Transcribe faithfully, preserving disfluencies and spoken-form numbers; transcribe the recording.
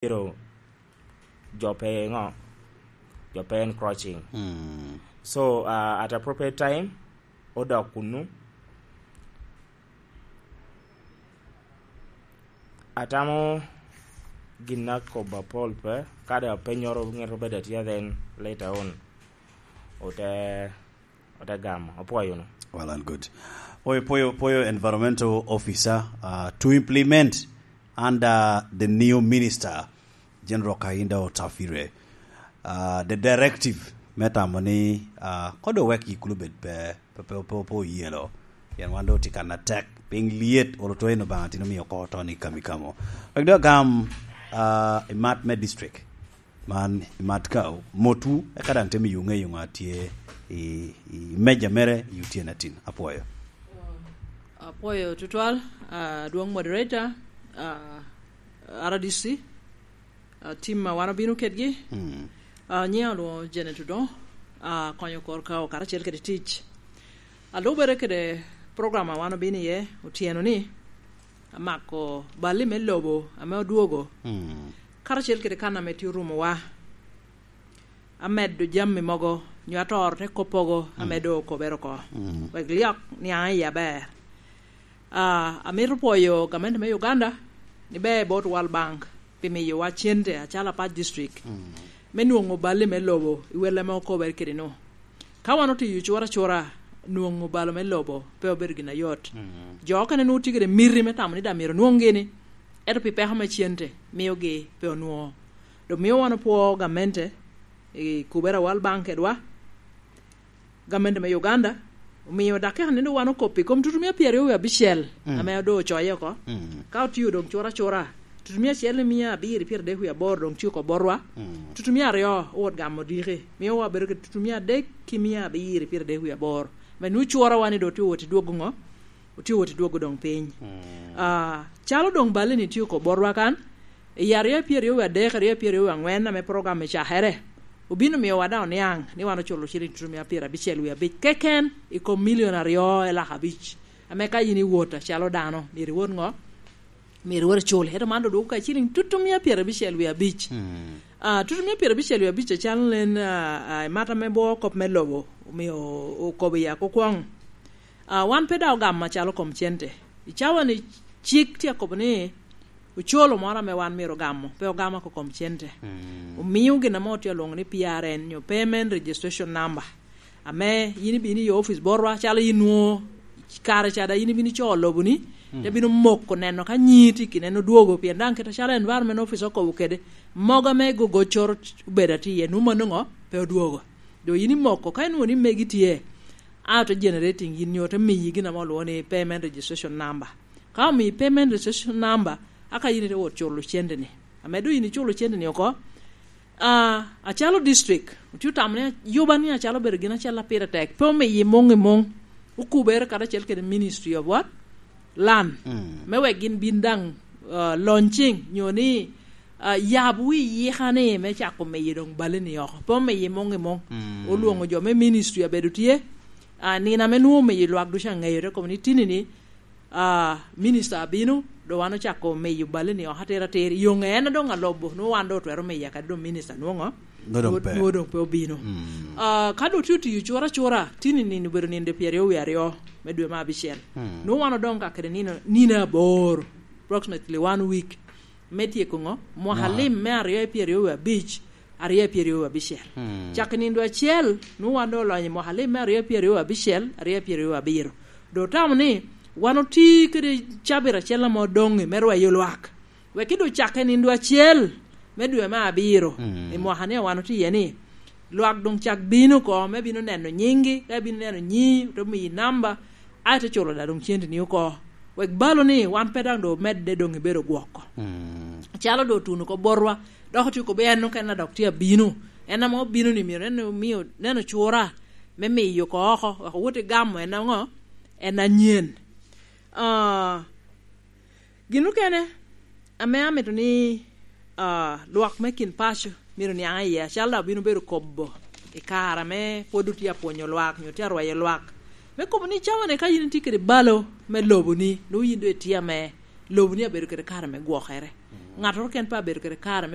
Pero jo pe ŋo? Jo pe encroaching. Mm. So, uh, at appropriate time, odok kunnu. Atamo gin akobo apol pe, kadi apenyoro ŋet obed atya, then later on, ote, ote gamo. Apwoyo nu. Well and good. Pwoyo, pwoyo, pwoyo environmental officer, uh, to implement under the new minister, General Kahinda Otafire, uh, the directive me tamo ni, uh, kodo wek yikulu bed pe, pe, pe, pe, pe oyelo. Pien wan doŋ tye kan atek, piny lyet, olo to en Obaŋa tin omio oko to ni kami kamo. Wek doŋ agam, uh, i mat me district. Man i mat ka motwu, eka daŋ te miyo ŋeyo ŋo a tye i, i meja mere i otyeno atin. Apwoyo. Apwoyo tutwal, ah, adwoŋ moderator, ah, R D C, ah, team a wan obino kedgi. Mm. Ah, nyiŋa olwoŋo Janet Odongo, ah, konyo kor ka karacel kede tic. Alubere kede program a wan obino iye otyeno ni, amako bali me lobo ame odwogo, mm, karacel kede kan ame tye orumowa, amedo jami mogo, nyo atoro te koppogo, mm, ame doŋ okobere oko. Mm. Wek lyok niaŋ i aber. Ah, amito pwoyo gamente me Uganda, ni ber bot World Bank pi miyowa cente acalo Apac District, mm, me nwoŋo bali me lobo i wel ame okobere kede-nu. Ka wan otiyo cura cura, nwoŋo balo me lobo pe obedo gin ayot. Mm. Jo okene nwoŋo tye kede miti me tamo ni daŋ myero onwoŋgi ni, ento pi peko me cente miogi pe onwoŋo. Dok mio wan opwoo gamente i kubere a World Bank kedwa, gamente me Uganda, omio dakika ni doŋ wan okop i kom tutumia pyeraryo wie abicel, mm, ame doŋ ocoye oko. Mm. Ka otio doŋ cura cura, tutumia acel i mia abiro i pyeradek wie aboro doŋ tye oko botwa. Mm. Tutumia aryo owot gamo diki, mio wabedo kede tutumia adek ki mia abiro i pyeradek wie aboro. Me nwoŋo curawa ni doŋ otye owot i dwogo ŋo? Otye owot i dwogo doŋ piny. Mm. Ah, calo doŋ bali ni tye oko botwa kan, i aryo pyeraryo wie adek, aryo pyeraryo wie aŋwen ame program ecakere, obino miyowa daŋ oniaŋ ni wan oculo ciliŋ tutumia pyerabicel wie abic keken i kom milion aryo elak abic, ame ka in iwot acalo dano, myero iwot ŋo? Myero iwot icul. Ento man doŋ dwogo ka ciliŋ tutumia pyerabicel wie abic. Mm. Ah, tutumia pyerabicel wie abic acalo nen, ah, ah, i mat ame bwo kop me lobo, omio okobo i akukwoŋ. Ah, wan pe daŋ ogamo acalo kom cente. I cawa ni cik tye akobo ni ocolo moro ame wan myero ogamo, pe ogamo oko kom cente. Mm. Omio gin ame otye alwoŋo ni P R N nyo Payment Registration Number. Ame yin ibino i opic botwa, calo yin nwoŋo kare ca daŋ yin ibino icoo loboni, mm, te bino moko neno ka nyii tye kineno dwogo, pien daŋ kit acalo environment office okobo kede, mogo ame gogoccoro obedo atye iye, nwoŋo mano ŋo? Pe odwogo. Doŋ yin imoko, ka inwoŋo ni megi tye, a ote generating yin nyo ote miyi gin ame olwoŋo ni payment registration number. Ka omiyi payment registration number, aka yin ite wot culo cente-ni. Ame doŋ yin iculo cente-ni oko, ah, acalo district, otye otamo ni yuba ni acalo obedo gin acel a pire tek, pe omiyi muŋ i muŋ, okubere karacel kede Ministry of what? Land. Mm. Me wek gin bin daŋ, ah, launching, nyo ni, ah, yab wi yika ni me cako miyo doŋ bali-ni oko. Pe omiyi muŋ i muŋ. Mm. Olwoŋo jo me ministry abedo tye, ah, nino ame nwoŋo omiyo lwak ducu aŋeyo, te kobo ni tini-ni, ah, minister abino, doŋ wan ocako miyo bali-ni oko atir atir. Yo ŋe en doŋ alobo, nwoŋo wan doŋ otwero miya kadi doŋ minister nwoŋo? Nwoŋo doŋ pe. Nwoŋo doŋ pe obino. Mm. Ah, ka doŋ tye otiyo cura cura, tini nino obedo nino pyeraryo wie aryo me dwe me abicel. Mm. Nwoŋo wan odoŋ ka kede nino, nino aboro, approximately one week. Me tyeko ŋo? Mwaka lim me aryo i pyeraryo wie abic, aryo i pyeraryo wie abicel. Hmm. Cak i nindo acel, nwoŋo wan doŋ olonyo i mwaka lim me aryo i pyeraryo wie abicel, aryo i pyeraryo wie abiro. Doŋ otamo ni wan oti kede cabit acel ame odoŋ-ŋi me rweyo lwak. Wek ki doŋ cak i nindo acel me dwe me abiro, hmm, i mwaka ni wan oti iye ni, lwak doŋ cak bino oko, me bino neno nyiŋgi, ka bino neno nyiŋi, ote miyi namba, aye te culo daŋ doŋ cente-ni oko. Wek balo ni wan pe daŋ doŋ omedde doŋ ibedo gwoko. Mm. Calo doŋ otuno oko botwa, dok otye kobbe en okene dok tye abino. En ame obino ni myero en omio, neno cura me miyo oko oko, wek owot i gamo en aŋo? En anyen. Ah, gin okene ame amito ni, ah, lwak me kin paco myero niaŋ iye, acalo daŋ obino bedo kobo i kare ame pwod otye apwonyo lwak, nyo tye arweyo lwak, me kobo ni cawa-ni ka yin itye kede balo me loboni, nwoŋo yin doŋ itye ame loboni abedo kede kare me gwokere. Mm. Ŋattoro ken pe abedo kede kare me